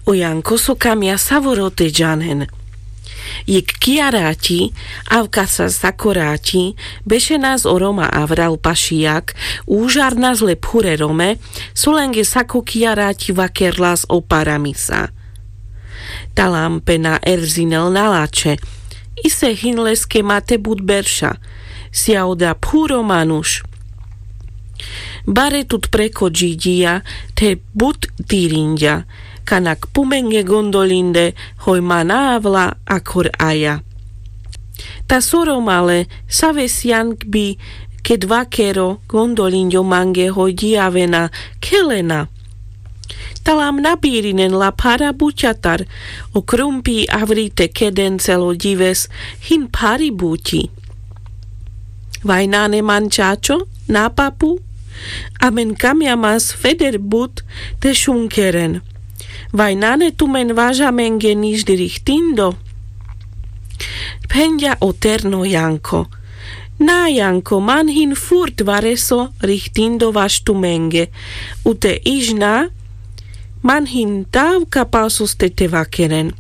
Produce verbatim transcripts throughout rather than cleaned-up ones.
O janko so kamia savoro te džanen. Jekh kijaráti avkasa sakoráti bešenas o roma avral pašijak, užarnas le phurerome, solenge sako kijaráti vakerlas o paramisa. Talam pe na erzinel na lače. Ise hin leske mate but berša. Sija oda phuro manuš. Bare tut preko džidžija the but tirinďa. Kanak pumenge gondolinde hoj ma na avla akor aja. Ta so romale save sijan kbi ked vakero gondolinďo mange hoj djijavena khelena. Talam na birinen la phara buťatar. O krumpi avri te keden celo djives hin phari buťi. Vaj nane man čačo na papu. Amen kamjamas feder but te šunkeren. Vaj nane tumen važamenge niždi rihtindo. Phenďa o terno janko. Na janko man hin furt vareso rihtindo vaš tumenge. U te iž na man hin tav ka pal soste te vakeren.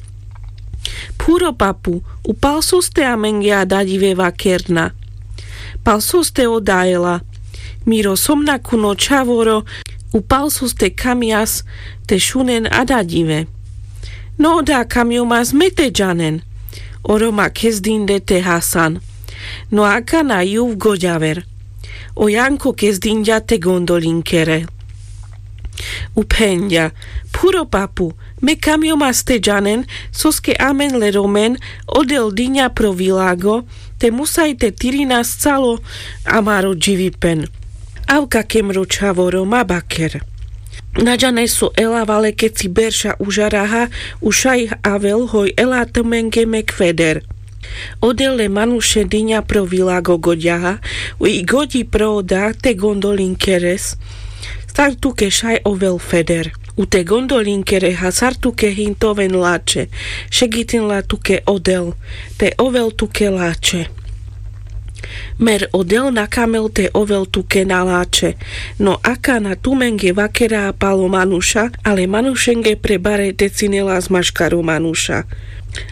Phuro papu, u pal soste amenge adadjive vakerna? Pal soste oda ela? Miro somnakuno čhavoro, u pal soste kamjas te šunen adadjive? No oda kamjomas me te džanen. O roma kezdinde te hasan. No akana juv goďaver. O janko kezdinďa te gondolinkere. U phenďa: Phuro papu, me kamjomas te džanen, soske amen le romen odel diňa pro vilago, te musaj te tirinas calo amaro dživipen. Avka ke mro čhavoro ma baker. Na džanes so ela vale keci berša užaraha, u šaj avel hoj ela tumenge mek feder. Odel le manuše diňa pro vilago goďaha, u i goďi pro oda te gondolinkeres. Sar tuke šaj ovel feder. U te gondolinkere ha sar tuke hin te oven lače. Šegitin la tuke odel te ovel tuke lače. Mer odel na kamel te ovel tuke na lače. No akana tumenge vakera palo manuša, ale manušenge pre bare te cinelas maškaro manuša.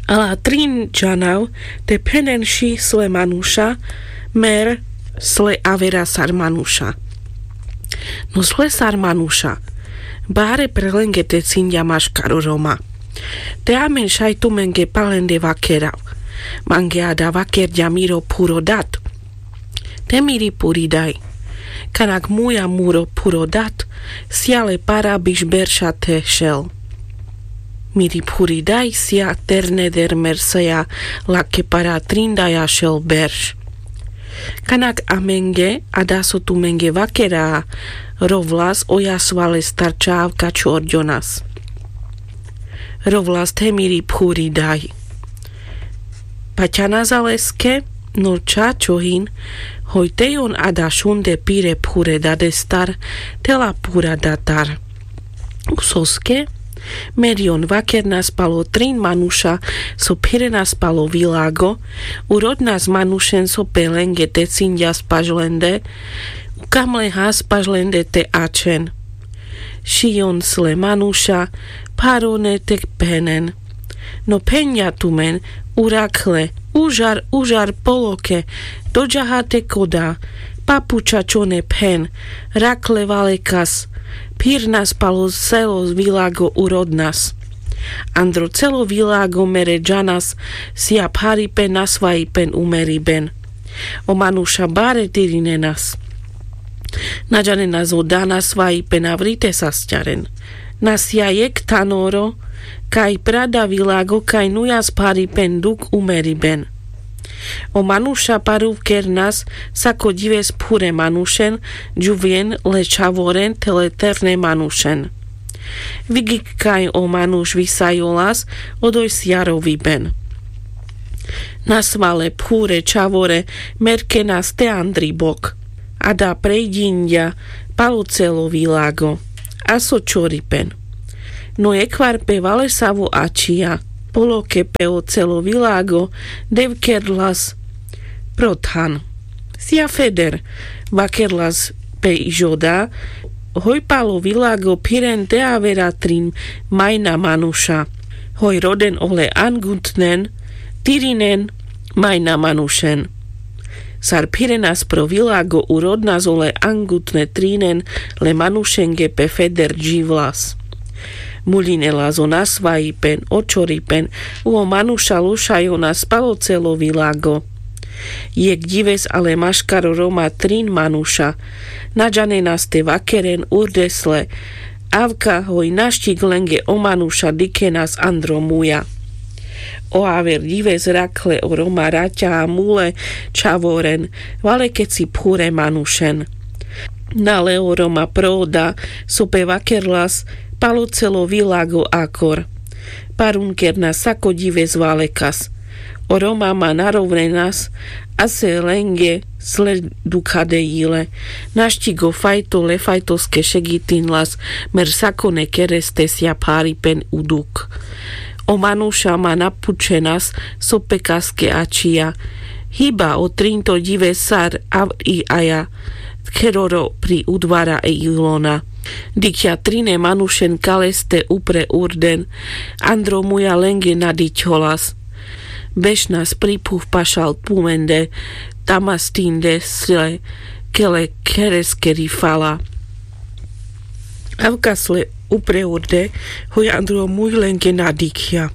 Ala trin džanav te phenen ši sle manuša, mer sle avera sar manuša. No sle sar manuša. Bare pre lenge te cinďa maškaro roma. Te amen šaj tumenge palende vakerav. Mange ada vakerďa miro phuro dat. Te miri phuri daj. Kanak muja muro phuro dat, sija le para biš berša te šel. Miri phuri daj sija terne der mer seja lake para trin daja šel berš. Kanak amenge, ada so tumenge vakera, rovlas oja sva lestar čav ka čorďonas. Rovlas the miri phuri daj. Paťanas a leske, no čačo hin, hoj te jon ada šunde pire phure dadestar, te la phura datar. Soske, mer jon vakernas palo trin manuša so phirenas palo vilago, u rodnas manušen so pe lenge te cinďas paš lende, u kamlehas paš lende te ačhen. Ši jon sle manuša, pharone te phenen. No phenďa tumen, u rakhle, užar, užar poloke, doďaha te koda, papu čačone phen, rakhle valekas, phirnas palo celo vilago u rodnas. Andro celo vilago mere džanas, sija pharipen na svajipen umeriben. O manuša bare tirinenas. Na džanenas oda na svajipen avri te sasťaren. Na sija jekh thanoro, kaj prada vilago kaj nujas pharipen duk umeriben. O manuša paruvkernas sako džives phure manušen, džuvjen le čhavoren the le terne manušen. Vigik kaj o manuš visajolas, odoj sija roviben. Na sva le phure čhavore merkenas te andri bok. Ada prejdinďa palo celo vilago. A so čoripen. No jekhvar pe valesavo ačhija, poloke pe o celo vilago, dev kerlas pro than. Sija feder, vakerlas pe iž oda, Hoj palo vilago phiren te avera trin majna manuša. Hoj roden ole angutnen tirinen majna manušen. Sar phirenas pro vilago u rodnas ole angutne trinen le manušenge pe feder dživlas. Muľinelas o nasvajipen o čoripen u o manuša lušajonas palo celo vilago. Jek ďives ale maškar o roma trin manuša. Na džanenas te vakeren urdes le. Avka hoj naščik lenge o manuša dikhenas andro muľa. O aver ďives rakhle o roma raťa a mule čhavoren, vale keci phure manušen. Na le o roma prooda so pe vakerlas palo celo vilago akor. Parunkernas sako ďives valekas. O roma ma narovnenas ase lenge sle dukha de jile. Naščik o fajto le fajtoske šegitinlas mer sakone kereste sja pharipen u duk. O manuša ma napučenas so pekaske ačija. Hiba o trinto ďives sar avri aja. Kheroro pri udvara e ilona. Dikhja trine manušen kaleste upre urden. Andro muľa lenge nadičholas. Bešnas pri phuv pašal pumende. Tamastinde sle kele khereskeri fala. Avka sle upre urde hoj andro muľ lenge nadikhja.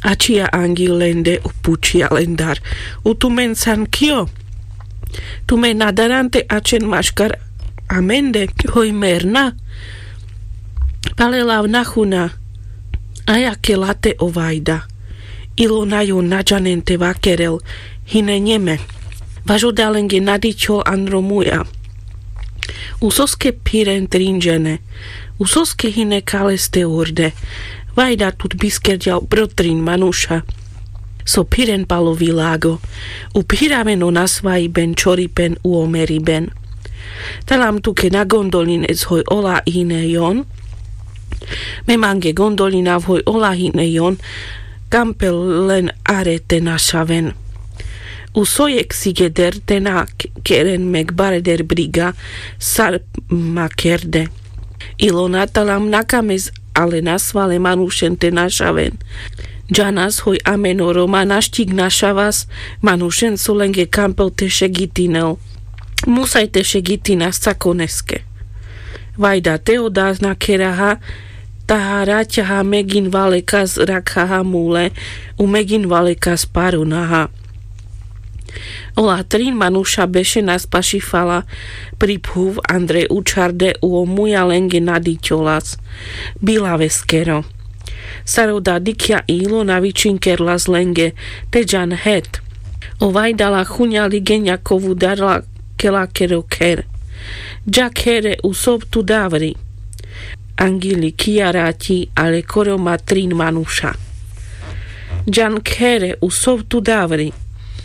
Ačija angil lende u pučija lendar. U tumen san kio? Tumen na daran te ačen maškar amende hoj merna. Pale lav na huna. Aja ke late o vajda. Ilona jon na džanen te vakerel. Hine njeme. Važoda lenge nadičhol andro muľa. Usoske phiren trin džene? Usoske hine kaleste urde? Vajda tut biskerďal pro trin manuša so phiren palo vilago. U phiraven o nasvajiben čoripen u o meriben. Talam tuke na gondolines hoj ola hine jon. Me mange gondolinav hoj ola hine jon. Kampel len are te našaven. U sojek sigeder te na keren mek bareder briga sar ma kerde. Ilona talam na kames ale nasvale manušen te našaven. Džanas hoj amen o roma naščik našavas manušen so lenge kampel te šegitinel. Musaj te šegitinas sakoneske. Vajda te oda na kheraha. Taha raťaha megin valekas rakhaha mule u megin valekas parunaha. Ola trin manuša bešenas paši fala pri phuv andre učharde u o muľa lenge nadičholas. Bilaveskero. Sar oda dikhja ilo na vičinkerlas lenge te džan het. O vajda la huna ligenja kovu darla kelakero kher. Dža khere u sov tu davri. Angili kija raťi ale ko roma trin manuša. Džan khere u sov tu davri.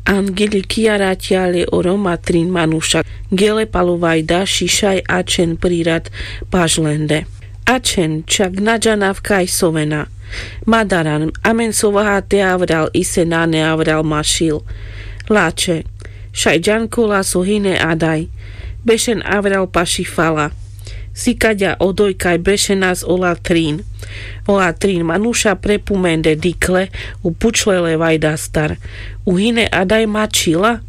Angili kija raťi ale o roma trin manuša gele palo vajda šišaj ačen prirat paš lende. Ačen čak na džanav kaj sovena. Ma daran amen so vaha te avral ise nane avral mašil. Lače. Šaj džan kola so hine adaj. Bešen avral paši fala. Sikaďa odoj kaj bešenas ola trin. Ola trin manuša prepumende dikhle u pučle le vajdastar. U hine adaj ma čhila?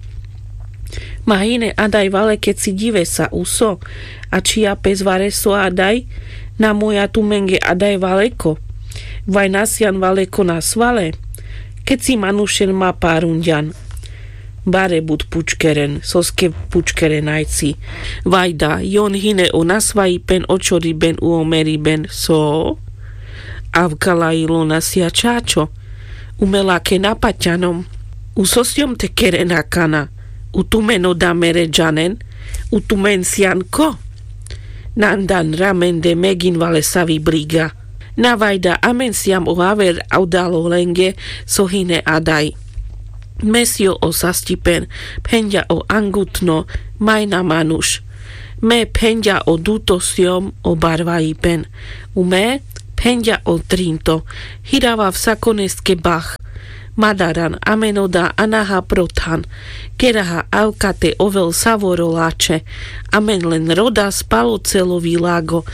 Ma hine adaj vale keci ďivesa uso. A čhija pes vareso adaj? Na moja tumenge adaj valeko. Vaj na sian valeko nasvale. Keci manušen ma parunďan. Bare but pučkeren soske pučkeren ajci. Vajda jon hine o nasvajipen o čoriben u o meriben so? Avkala ilona sija čačo. Umela ke na paťanom. Uso sjom te keren akana? U tumen oda mere džanen? U tumen sian ko? Nandan ramende megin valesavi briga. Na vajda amen siam o aver odalo lenge so hine adaj. Me sio o sastipen. Phenďa o angutno. Majna manuš. Me phenďa o duto sjom o barvajipen. U me phenďa o trinto. Hiravav sakoneske bah. Madaran amen oda anaha pro than. Keraha avka te ovel savoro lačhe. Amen len rodas palo celo vilago.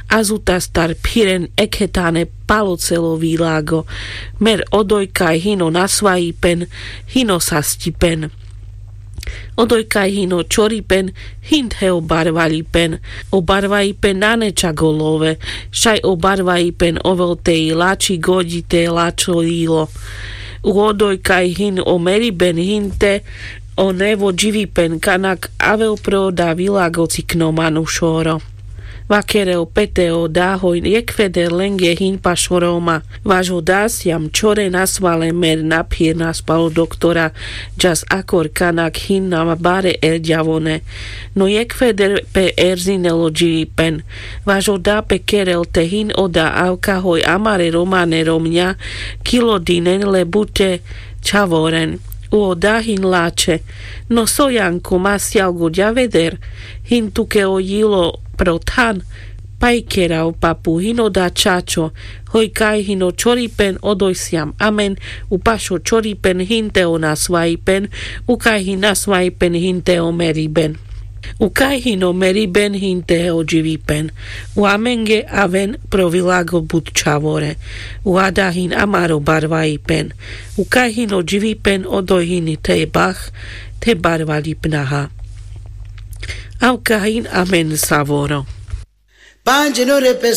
Azutastar phiren ekhetane palo celo vilago. Mer odoj kaj hin o nasvajipen, hin o sastipen. Odoj kaj hin o čoripen, hin the o barvaljipen. O barvaljipen nane čak o love, šaj o barvaljipen ovel te i lači goďi te lačo ilo. U odoj kaj hin o meriben, hin te o nevo dživipen, kanak avel pro oda vilago cikno manušoro. Vakerel pe te oda hoj jekfeder lenge hin pašo Roma. Vaš oda sijam čhore nasvale mer na phirnas palo doktora, džas akor kanak hin na bare erďavone. No jekfeder pe erzinel o dživipen. Vaš oda pe kerel te hin oda avka hoj amare Romane romňa, kilo dinen le bučhe čhavoren. U oda hin lačhe. No so Janko, ma sijal goďaveder, hin tuke o jilo pro than. Paj kerav papu, hin oda čačo. Hoj kaj hin o čoripen, odoj sijam amen. U pašo čoripen hin te o nasvajipen. U kaj hin nasvajipen hin te o meriben. U kaj hin o meriben hin te o dživipen. U amenge aven pro vilago but čhavore. U ada hin amaro barvajipen. U kaj hin o dživipen, odoj hin te bah, te barvaljipnaha. Avka hin amen savoro. Panđe no repe